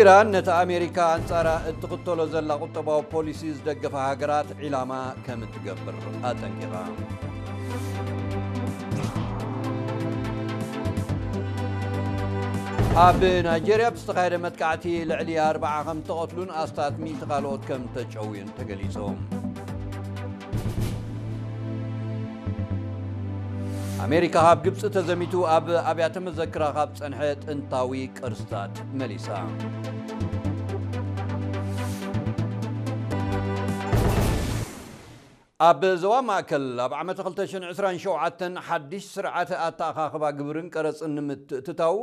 ኢራን ነቲ ኣሜሪካ ኣንጻራ እትኽተሎ ዘላ ቁጠባዊ ፖሊሲ ዝደገፋ ሃገራት ዒላማ ከም እትገብር ኣጠንቂቓ። ኣብ ናይጄርያ ብዝተኻየደ መጥቃዕቲ ልዕሊ ኣርብዓ ከም ተቐትሉን ኣስታት ሚእቲ ካልኦት ከም ተጨውዩን ተገሊጹ። ኣሜሪካ ካብ ግብጺ ተዘሚቱ ኣብ ኣብያተ መዘክራ ካብ ጸንሐ ጥንታዊ ቅርስታት መሊሳ። ኣብ ዞባ ማእከል ኣብ ዓመት ክልተ ሽሕን ዕስራን ሸውዓተን ሓድሽ ስርዓተ ኣተኣኻኽባ ግብርን ቀረጽን ንምትእትታው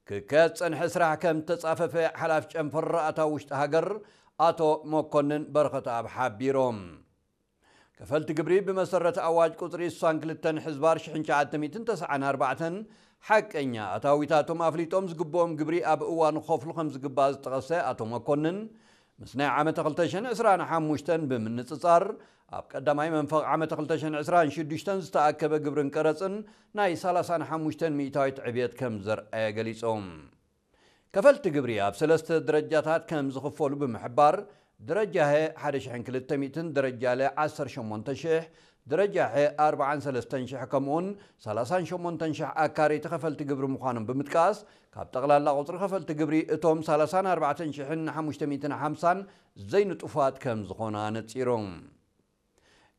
ክካየድ ዝጸንሐ ስራሕ ከም ተጻፈፈ ሓላፊ ጨንፈር ኣታዊ ውሽጢ ሃገር ኣቶ መኮንን በረኸተኣብ ሓቢሮም። ከፈልቲ ግብሪ ብመሰረት ኣዋጅ ቁጽሪ ስሳን ክልተን ሕዝባር ሽሕን ትሽዓተ ሚእትን ተስዓን ኣርባዕተን ሓቀኛ ኣታዊታቶም ኣፍሊጦም ዝግብኦም ግብሪ ኣብ እዋኑ ክኸፍሉ ከም ዝግባእ ዝጠቐሰ ኣቶ መኮንን፣ ምስ ናይ ዓመተ ክልተ ሽሕን ዕስራን ሓሙሽተን ብምንጽጻር፣ ኣብ ቀዳማይ መንፈቕ ዓመተ ክልተ ሽሕን ዕስራን ሽዱሽተን ዝተኣከበ ግብርን ቀረጽን ናይ ሰላሳን ሓሙሽተን ሚእታዊት ዕብየት ከም ዘርኣየ ገሊጾም። ከፈልቲ ግብሪ ኣብ ሰለስተ ደረጃታት ከም ዝኽፈሉ ብምሕባር፣ ደረጃ ሀ ሓደ ሽሕን ክልተ ሚእትን፣ ደረጃ ለ ዓሰርተ ሸሞንተ ሽሕ፣ ደረጃ ሐ ኣርብዓን ሰለስተን ሽሕ፣ ከምኡውን ሰላሳን ሸሞንተን ሽሕ ኣካረይቲ ከፈልቲ ግብሪ ምዃኖም ብምጥቃስ፣ ካብ ጠቕላላ ቁጽሪ ከፈልቲ ግብሪ እቶም ሰላሳን ኣርባዕተን ሽሕን ሓሙሽተ ሚእትን ሓምሳን ዘይንጡፋት ከም ዝኾኑ ኣነጺሮም።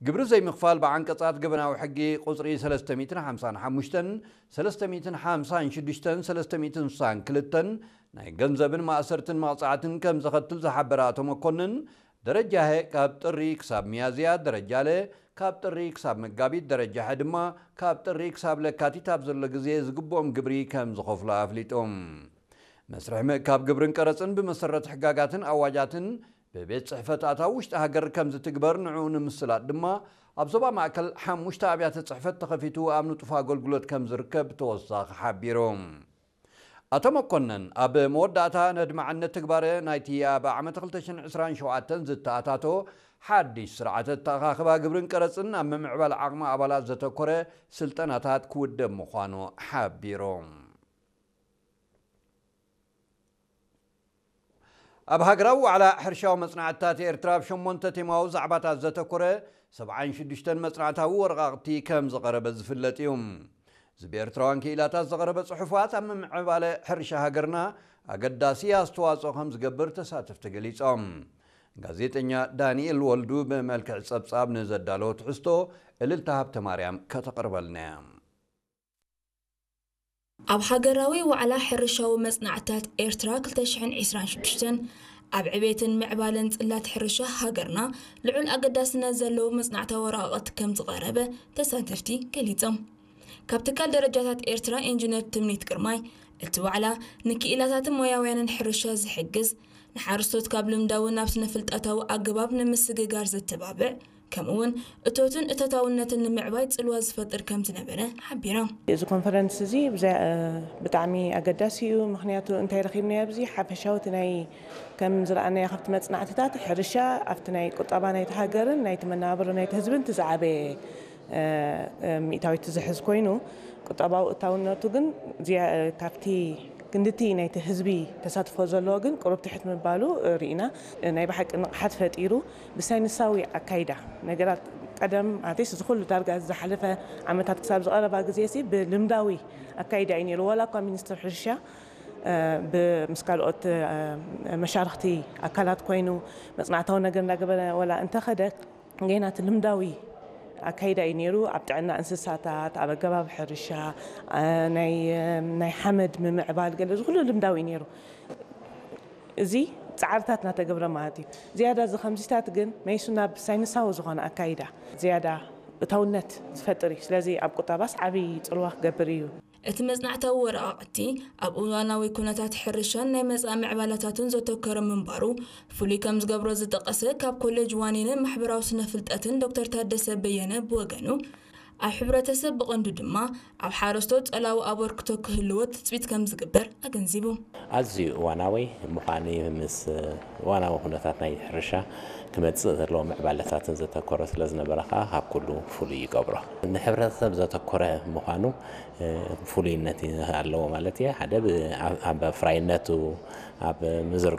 ግብሪ ዘይምኽፋል ብዓንቀጻት ገበናዊ ሕጊ ቁጽሪ ሰለስተ ሚእትን ሓምሳን ሓሙሽተን፣ ሰለስተ ሚእትን ሓምሳን ሽዱሽተን፣ ሰለስተ ሚእትን ስሳን ክልተን ናይ ገንዘብን ማእሰርትን መቕጻዕትን ከም ዘኸትል ዝሓበረ ኣቶ መኮንን፣ ደረጃ ሀ ካብ ጥሪ ክሳብ ሚያዝያ፣ ደረጃ ለ ካብ ጥሪ ክሳብ መጋቢት፣ ደረጃ ሐ ድማ ካብ ጥሪ ክሳብ ለካቲት ኣብ ዘሎ ግዜ ዝግብኦም ግብሪ ከም ዝኸፍሉ ኣፍሊጦም። መስርሕ ምእካብ ግብርን ቀረጽን ብመሰረት ሕጋጋትን ኣዋጃትን ብቤት ጽሕፈት ኣታዊ ውሽጢ ሃገር ከም ዝትግበር ንዕኡ ንምስላጥ ድማ ኣብ ዞባ ማእከል ሓሙሽተ ኣብያተ ጽሕፈት ተኸፊቱ ኣብ ንጡፍ ኣገልግሎት ከም ዝርከብ ተወሳኺ ሓቢሮም። ኣቶ መኮነን ኣብ መወዳእታ ነድማዕነት ትግባረ ናይቲ ኣብ ዓመት ክልተ ሽሕን ዕስራን ሸውዓተን ዝተኣታቶ ሓድሽ ስርዓተ ኣተኣኻኽባ ግብርን ቀረጽን ኣብ ምምዕባል ዓቕሚ ኣባላት ዘተኮረ ስልጠናታት ክውደብ ምዃኑ ሓቢሮም። ኣብ ሃገራዊ ዋዕላ ሕርሻዊ መጽናዕትታት ኤርትራ ኣብ ሸሞንተ ቴማዊ ዛዕባታት ዘተኮረ ሰብዓን ሽዱሽተን መጽናዕታዊ ወረቓቕቲ ከም ዝቐረበ ዝፍለጥ እዩ። እዚ ብኤርትራውያን ክኢላታት ዝቐረበ ጽሑፋት ኣብ ምምዕባለ ሕርሻ ሃገርና ኣገዳሲ ኣስተዋጽኦ ከም ዝገብር ተሳተፍቲ ገሊጾም። ጋዜጠኛ ዳንኤል ወልዱ ብመልክዕ ጸብጻብ ንዘዳለዎ ትሕዝቶ እልልታ ሃብተማርያም ከተቕርበልና እያ። ኣብ ሃገራዊ ዋዕላ ሕርሻዊ መጽናዕትታት ኤርትራ ክልተ ሽሕን ዕስራን ሽዱሽተን ኣብ ዕቤትን ምዕባለን ጽላት ሕርሻ ሃገርና ልዑል ኣገዳስነት ዘለዎ መጽናዕታዊ ወረቓቕቲ ከም ዝቐረበ ተሳተፍቲ ገሊጾም። ካብ ትካል ደረጃታት ኤርትራ ኢንጂነር ትምኒት ግርማይ፣ እቲ ዋዕላ ንክኢላታትን ሞያውያንን ሕርሻ ዝሕግዝ፣ ንሓረስቶት ካብ ልምዳዊ ናብ ስነ-ፍልጠታዊ ኣገባብ ንምስግጋር ዘተባብዕ፣ ከምኡውን እቶትን እቶታውነትን ንምዕባይ ጽልዋ ዝፈጥር ከም ዝነበረ ሓቢራ። እዚ ኮንፈረንስ እዚ ብጣዕሚ ኣገዳሲ እዩ። ምክንያቱ እንታይ ረኺብናዮ ኣብዚ ሓፈሻዊ እቲ ናይ ከም ዝረኣናዮ ካብቲ መጽናዕትታት ሕርሻ ኣብቲ ናይ ቁጠባ ናይቲ ሃገርን ናይቲ መነባብሮ ናይቲ ህዝብን እቲ ዝዓበየ ሚእታዊት ዝሕዝ ኮይኑ ቁጠባዊ እታውነቱ ግን ካብቲ ክንድቲ ናይቲ ህዝቢ ተሳትፎ ዘለዎ ግን ቁሩብ ትሕት ምባሉ ርኢና። ናይ ብሓቂ ንቕሓት ፈጢሩ ብሳይንሳዊ ኣካይዳ ነገራት ቀደም ኣትስ ዝኩሉ ዳርጋ ዝሓለፈ ዓመታት ክሳብ ዝቐረባ ግዜ ሲ ብልምዳዊ ኣካይዳ እዩ ነይሩ። ዋላ እኳ ሚኒስትር ሕርሻ ምስ ካልኦት መሻርክቲ ኣካላት ኮይኑ መፅናዕታዊ ነገር እንዳገበረ ወላ እንተኸደ ገና እቲ ልምዳዊ ኣካይዳ እዩ ነይሩ። ኣብ ጥዕና እንስሳታት፣ ኣብ ኣገባብ ሕርሻ፣ ናይ ሓመድ ምምዕባል ገለ እዚ ኩሉ ልምዳዊ እዩ ነይሩ። እዚ ፃዕርታት እናተገብረ ማለት እዩ። ዝያዳ እዚ ከምዚታት ግን መይሱ ናብ ሳይንሳዊ ዝኾነ ኣካይዳ ዝያዳ እታውነት ዝፈጥር እዩ። ስለዚ ኣብ ቁጠባስ ዓብዪ ፅልዋ ክገብር እዩ። እቲ መፅናዕታዊ ወረቓቕቲ ኣብ እዋናዊ ኩነታት ሕርሻን ናይ መፃኢ ምዕባለታቱን ዘተኮረ ምንባሩ ፍሉይ ከም ዝገብሮ ዝጠቐሰ ካብ ኮሌጅ ዋኒንን ማሕበራዊ ስነ ፍልጠትን ዶክተር ታደሰ በየነ ብወገኑ ኣብ ሕብረተሰብ ብቐንዱ ድማ ኣብ ሓረስቶት ጸላዊ ኣበርክቶ ክህልዎ ትጽቢት ከም ዝግበር ኣገንዚቡ። ኣዝዩ እዋናዊ ምዃኑ ምስ እዋናዊ ኩነታት ናይ ሕርሻ ክመጽእ ዘለዎ ምዕባለታትን ዘተኮረ ስለ ዝነበረ ከኣ ካብ ኩሉ ፍሉይ ይገብሮ። ንሕብረተሰብ ዘተኮረ ምዃኑ ፍሉይነት ኣለዎ ማለት እየ። ሓደ ኣብ ኣፍራይነቱ ኣብ ምዝር